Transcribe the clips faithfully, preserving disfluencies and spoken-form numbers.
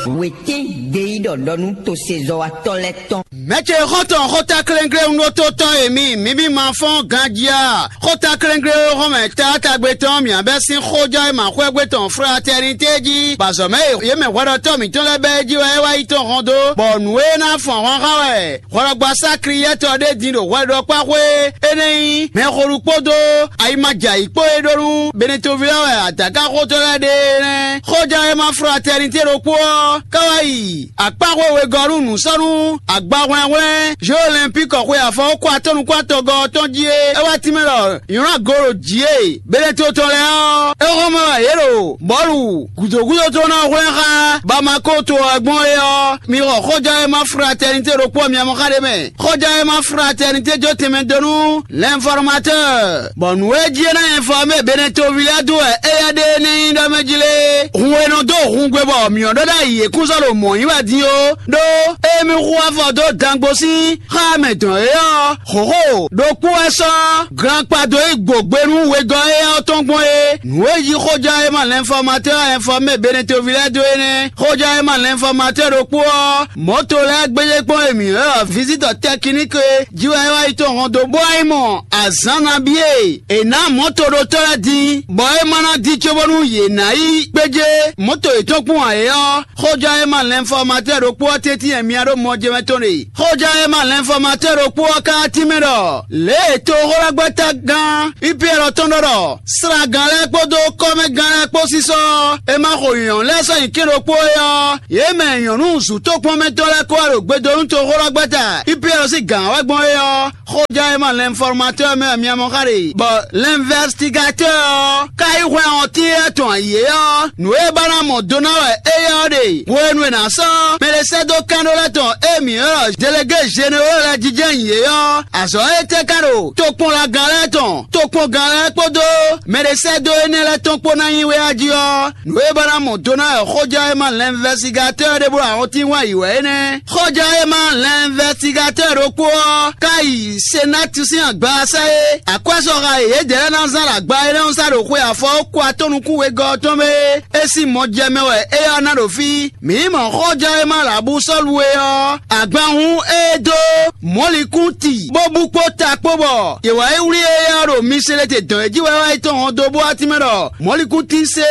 Wětín gbeyíɖɔ ɖɔ nú tosezɔ́watɔ́ lɛ́ɛ tɔn. Mɛ̌ ce xɔ́ntɔn xótáklɛ́nglé un ɖótótɔ́ e mi mǐ mì ma fɔ́n ganjí a? Xótáklɛ́nglé e xɔ́mɛ taátagbe tɔn mǐ bɛ́ sín xójɔ e ma xwɛ́gbe tɔn fratɛ́nitɛ́ jí, bɔ azɔ̌ mɛ e yě mɛ hwɛɖɔtɔ́ mǐtɔn lɛ́ɛ bɛ́ é jí wɛ é wá yi tɔn hɔn dó, bɔ nǔ e ná fɔn hɔn xá wɛ hwlɔgbasá Kliyɛ́tɔ ɖé din ɖo hwɛɖɔkpáxwé énɛ́ nyí mɛxo ɖokpó dó ayi ma jɛ ayǐ kpó e ɖó nú Benetoví lɛ́ɛ wɛ adǎkaxótɔ́ lɛ́ɛ ɖe é nɛ́. Xójɔ e ma fratɛ́nitɛ́ ɖokpó ɔ́ ká wá yi akpáxwé wegɔ́ nú nǔsɔ́nú agbahwlɛ́nhwlɛ́n Jeux Olympiques xwe afɔwúkɔ atɔ́nukún atɔngɔ́ ɔ́ tɔn jí é. É wá tínmɛ ɖɔ nylá go ɖo jǐ e Beneto tɔn lɛ́ɛ ɔ́, é xɔ́mɛ wɛ yě ɖo bɔ̌lu gǔdo gúdo tɔn ná hwlɛ́n xá Bamako to ɔ́ gbɔn é ɔ́, mi xɔ xɔján e ma fratɛnitɛ́ ɖokpó ɔ́ mi mɔ xá ɖé mɛ. Xɔján e ma fratɛnitɛ́ jó tɛnmɛ dó nú l'informateur, bɔ nǔ e jí é ná informé Beneto ví lɛ́ɛ dó wɛ éyɛ́ ɖe énɛ́ nyí ɖɔ mɛ jí lé. Hun e nɔ dó hun gbe bɔ mǐ ɔ́ ɖɔ ɖ'ayǐ é kún sɔ́ ɖo mɔ̌ nyi wɛ din ó, ɖó émí hu afɔ dó dangbo sín xá mɛ dɔn é ɔ́, hǒxo ɖokpó wɛ sɔ́ glankpa dó yi gbǒgbé nú wegɔ́ éyɛ́ ɔ́ tɔn gbɔn é. Nǔ e yí xóján e ma l'informateur informé Beneto ví lɛ́ɛ dó é nɛ́. Xóján e ma l'informateur ɖokpó ɔ́, mɔ̌to lɛ́ɛ gbéjé kpɔ́n e mǐ ylɔ́ ɖɔ visite technique é jí wɛ é wá yi tɔn hɔn dó bó wá yi mɔ azǎn nabí e è nǎ mɔ̌toɖotɔ́ lɛ́ɛ din, bɔ é ma ná dín cóbónú yě ná yi gbéjé mɔ̌to yětɔn kpɔ́n ǎ é ɔ́, xóján e ma l'informateur ɖokpó ɔ́ tɛ́ntin e mia ɖó mɔjɛmɛ tɔn ɖe. Xóján e ma l'informateur ɖokpó ɔ́ ka tínmɛ ɖɔ lě e toxóɖɔgbɛ́tagán Ipiyɛ́ɛ tɔn ɖɔ ɖɔ slagán lɛ́ɛ kpódó kɔ́mɛgán lɛ́ɛ kpó sísɔ́ ɔ́, è ma xo nyɔ̌nu lɛ́ɛ sɔ́ nyi kɛ́n ɖokpó é ɔ́, yě mɛ nyɔ̌nu zǔtókpɔ́nmɛtɔ́ lɛ́ɛ kó wá ɖo gbedo nú toxóɖɔgbɛ́ta Ipiyɛ́ɛ sín gǎn wɛ gbɔn é ɔ́, xóján e ma l'informateur mɛ wɛ mia mɔ xá ɖe, bɔ l'investigateur ɔ́ ka yí hwlɛ́n ɔ́ tín éyɛ́ tɔn ayǐ é ɔ́, nǔ e ba ná mɔ do ná wɛ éyɛ́ ɔ́ ɖe. Hwenu e è nǎ sɔ́ mɛ ɖé sɛ́ dó kɛ́n ɖó lɛ́ɛ tɔn e mǐ ylɔ́ ɖɔ délégué généraux lɛ́ɛ jijɛ nyi yě ɔ́, azɔ̌ étɛ́ ka ɖo tokpɔnlagán lɛ́ɛ tɔn, tokpɔngán lɛ́ɛ kpódó mɛ ɖé sɛ́ dó énɛ́ lɛ́ɛ tɔn kpó ná nyí wɛ a jí ɔ́, nǔ e ba ná mɔ do ná wɛ xóján e ma l'investigateur ɖé bó ɖo ahɔ́ntín wá yi wɛ é nɛ́. Xɔján e ma l'investigateur ɖokpó ɔ́ ka yi Senati sín agbaza e akwɛ́sɔxa e yědɛɛ lɛ́ɛ ná zán ɖo agba énɛ́ ɔ́ sá ɖo xwe afɔwúkɔ atɔ́ nukún wegɔ́ ɔ́ tɔn mɛ é. É sín mɔ jɛ mɛ wɛ éyɛ́ ɔ́ ná ɖo fí. Mǐ mɔ xɔján e ma ɖo abú sɔ́lu é ɔ́, agban hún é dó mɔ̌likún ti bó bú kpó ta kpó bɔ yě wá yi wlí éyɛ́ ɔ́ ɖo Miselete dɔn é jí wɛ wá yi tɔn hɔn dó bó wá tínmɛ ɖɔ mɔ̌likúntín sé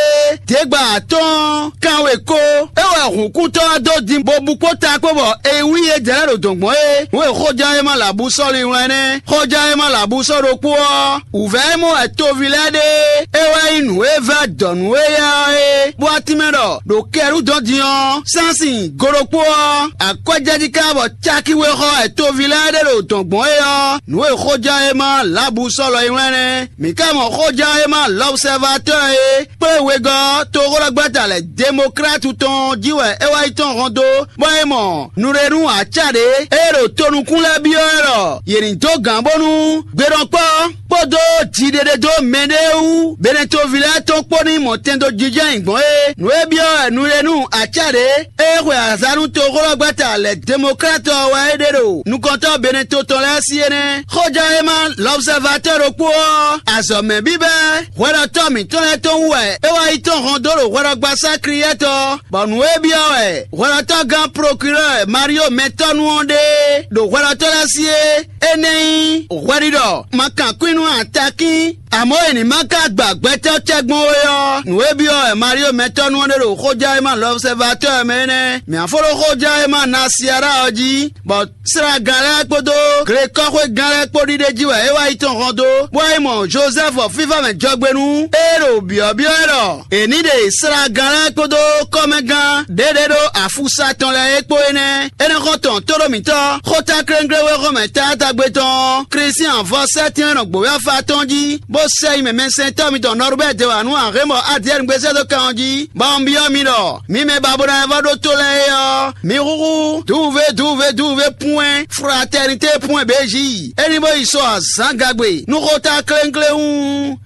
dégbà atɔ́ɔ́n kanwe kó. É wɛ hǔnkúntɔ́ ɔ́ dó din bó bú kpó ta kpó bɔ è wlí yě jɛ lɛ́ ɖo dɔ̌n gbɔn é. Nǔ e xóján e ma lǎbú sɔ́ linwlɛ́n nɛ́. Xóján e ma lǎbú sɔ́ ɖokpó ɔ́, wǔvɛ́ e mɔ wɛ toví lɛ́ɛ ɖe é wɛ nyí nǔ e vɛ́ dɔ̌n nú éyɛ́ ɔ́ é, bó wá tínmɛ ɖɔ ɖo kɛ́ɖú dɔn din ɔ́, sánsin go ɖokpó ɔ́, akwɛ́jɛjí ká bɔ cákí wé xɔ wɛ toví lɛ́ɛ ɖe ɖo dɔ̌n gbɔn é ɔ́, nǔ e xóján e ma lǎbú sɔ́ lɔ yi wlɛ́n nɛ́. Mǐ ka mɔ xóján e ma l'Observateur é kplé wegɔ́ toxóɖɔgbɛ́ta lɛ́ɛ Democrate tɔn jí wɛ é wá yi tɔn hɔn dó, bɔ é mɔ nǔɖénú acá ɖě e ɖo tonukún lɛ́ɛ byɔ́ ɛ ɖɔ yě ní dó gǎn bónú gbeɖɔkpɔ́ kpódó jiɖeɖedó mɛɖée wú Beneto ví lɛ́ɛ tɔn kpó ní mɔ tɛn dó jijɛ nyi gbɔn é. Nǔ e byɔ́ wɛ nǔɖénú acá ɖě e xwe azǎn nú toxóɖɔgbɛ́ta lɛ́ɛ Democrate ɔ́ wɛ é ɖe ɖo nukɔntɔ́ Beneto tɔn lɛ́ɛ sí é nɛ́. Xóján e ma l'Observateur ɖokpó ɔ́, azɔ̌mɛ bíbɛ́ hwɛɖɔtɔ́ mǐtɔn lɛ́ɛ tɔn wú wɛ é wá yi tɔn hɔn dó ɖo hwɛɖɔgbasá Kliyɛ́tɔ, bɔ nǔ e byɔ́ wɛ hwɛɖɔtɔ́gán Procureur Mario Mɛtɔ́nu ɔ́ ɖe ɖo hwɛɖɔtɔ́ lɛ́ɛ sí é, é nɛ́ nyí hwɛɖiɖɔ ma kan kwín nú atakín, amɔ̌ è ní ma ka gba gbɛtɔ́ tɛ́ gbɔn ó é ɔ́, nǔ e byɔ́ wɛ Mario Mɛtɔ́nu ɔ́ ɖe ɖo xójá e ma l'Observateur mɛ é nɛ́. Mǐ á fó ɖó xójá e ma Nasiara ɔ́ jí, bɔ Slagán lɛ́ɛ kpódó glekɔ́xwégán lɛ́ɛ kpó ɖiɖe jí wɛ é wá yi tɔn hɔn dó, bó wá yi mɔ Jozɛ́fu fífá mɛ jɔgbénu e ɖo byɔ̌byɔ́ wɛ ɖɔ è ní ɖe slagán lɛ́ɛ kpódó kɔ́mɛgán ɖěɖě ɖó afúsa tɔn lɛ́ɛ é kpó é nɛ́. Énɛ́ xɔ́ntɔn tóɖó mǐtɔn xótáklénglé wexɔmɛ taátagbe tɔn Klísián vɔ sɛ́tɛ́n nɔ gbǒvɛ́ afá tɔn jí, bó sɛ yi mɛ mɛsɛntɔ́ mitɔn Nɔrubɛ́ɛ dewanu Ahémɔ Adiyɛ́ɛnu gbé sɛ́ dó kan ɔ́ jí, bɔ un byɔ́ mi ɖɔ mi mɛ ba bó ná vɔ ɖó tó lɛ́ɛ é ɔ́, mi húhú duve duve duve pwɛn fraternité pwɛn bějí. É ní bó yi sɔ azǎn gagbe nú xótáklénglé hú.